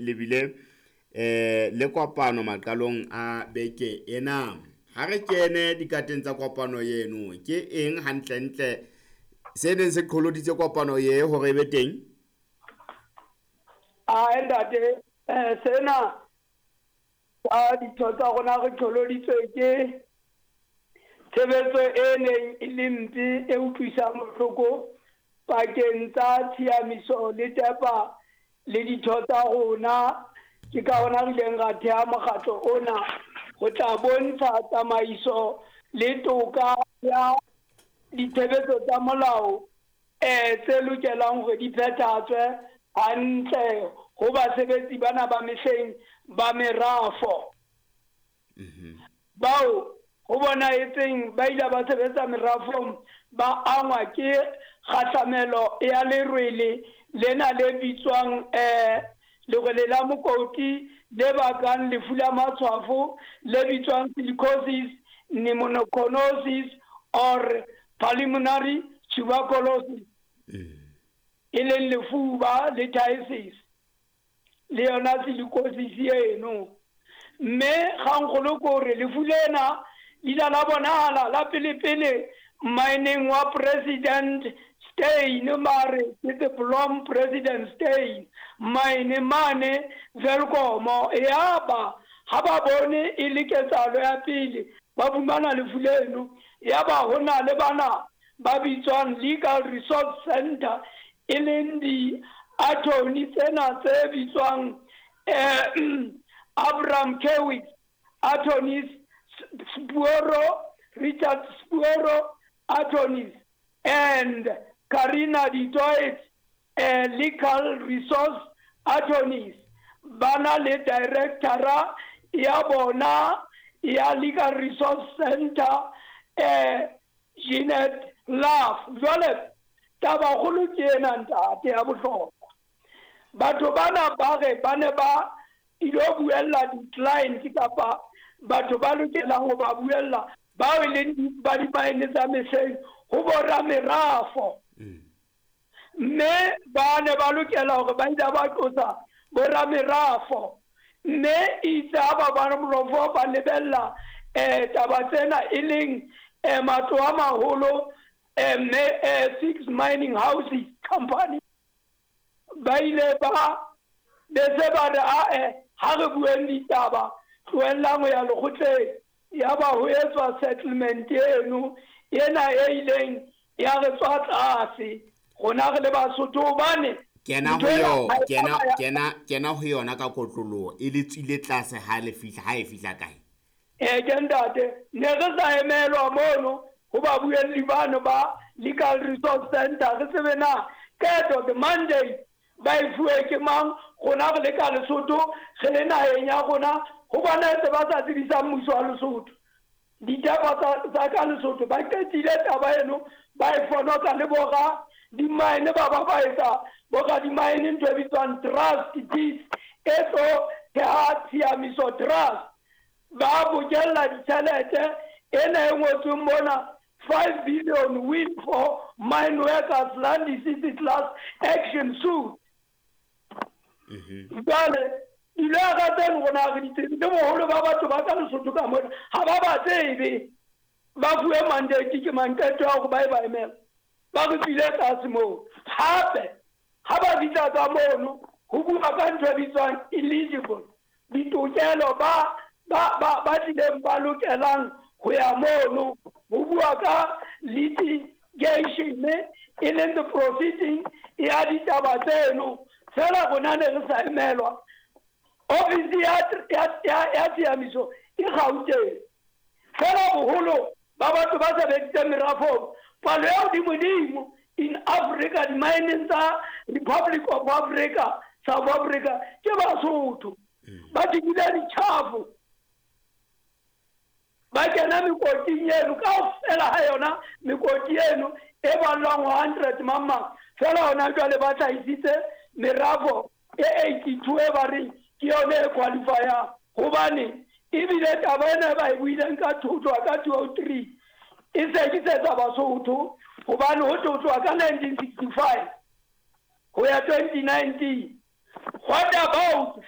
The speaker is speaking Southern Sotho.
le bile le kopano maqalong a beke ena. Ha re kene dikateng tsa kopano eno, ke eng hantlentle se neng se qholoditse kopano ye hore e be teng? Ae ntate, sena sa ditho tsa rona re qholoditswe ke tshebetso e neng e le mpe e utlwisang bohloko pakeng tsa tshiamiso le tepa le ditho tsa rona. Ke ka hona re ileng ra theha mokgatlo ona ho tla bontsha tsamaiso le toka ya ditshebetso tsa molao tse lokelang hore di phethahatswe hantle ho basebetsi bana ba mehleng ba merafo. Bao ho bonahetseng ba ile ba sebetsa merafong ba angwa ke kgahlamelo ya lerwele lena le bitswang lerwele la mokoti le bakang lefu la matshwafo le bitswang silicosis, pneumoconiosis or pulmonary tuberculosis, e leng lefuba le phthisis le yona silicosis eno. Mme kgangkgolo ke hore lefu lena le ile la bonahala la pele-pele mmineng wa President Steyn, mare ke the Blom President Steyn mine mane Welkom. Yaba ha ba bone e le ketsahalo ya pele ba fumana lefu leno, yaba ho na le bana ba bitswang Legal Resource Center, e leng di-attorney tsena tse bitswang Abraham Kewitz attorneys, Sporo Richard Sporo attorneys and Karina du Toit legal resource attorneys. Bana le directora ya bona ya Legal Resource Center, Jeanette Love. Jwale tabakgolo ke ena ntate ya bohlokwa. Batho bana ba re ba ne ba ilo buella di-client kapa batho ba lokelang ho ba buella bao e leng ba dimaene tsa mehleng ho boramerafo. Mme ba ne ba lokela hore ba ile ba qosa boramerafo, mme itse ha ba boramerafo ba lebella taba tsena e leng matlo a maholo, mme six mining houses company, ba ile ba be se ba re ae ha re bueng ditaba, tlohellang ho ya lekgotleng. Ya ba ho etswa settlement eno ena e ileng ya re tswa tlase rona re le Basotho, hobane kena ho yo kena kena kena ho yona ka kotloloho e le tswile tlase ha le fihla, ha e fihla kae? Ke ntate, ne re sa emelwa mono ho babuelli bano ba Legal Resource Center, re tsebe na qeto the mandate ba e fuwe ke mang. Rona re le ka Lesotho, re le naheng ya rona, ho bonahetse ba sa tsebisang mmuso wa Lesotho ditaba tsa ka Lesotho. Ba qetile taba eno, ba e fonotsa le bora dimaene, ba etsa bora dimaene ntho e bitswang trust deeds e tlo theha tshiamiso trust, ba bokella ditjhelete ena e ngotsweng mona, 5 billion win for mine workers Landisisi class action suit. Jwale dilwera tseno rona re di tsebe, le boholo ba batho ba ka Lesotho ka mona ha ba ba tsebe ba fuwe mandate ke mang, qeto ya hore ba e ba emela. Ba re tswile tlase moo. Hape ha ba fihla ka mono ho bua ka ntho e bitswang eligible, ditokelo ba tlileng ba lokelang ho ya mono, ho bua ka litigation e leng the proceeding ya ditaba tseno. Fela rona ne re sa emelwa. Ofisi ya tshiamiso e Gauteng, fela boholo ba batho ba sebeditseng merafong, palo ya hodimodimo in Africa, dimaeneng tsa Republic of Africa, South Africa, ke Basotho. Ba dikile ditjhafo, ba kena mekoting eno kaofela ha yona, mekoti eno e ballwang ho 100 mang fela. Hona jwale ba hlahisitse merafo e 82 e ba reng ke yone e qualifyang, hobane ebile taba ena e ba e buileng ka thotwa ka 203 e sekisetsa Basotho, hobane ho tlotlwa ka 1965 ho ya 2019. What about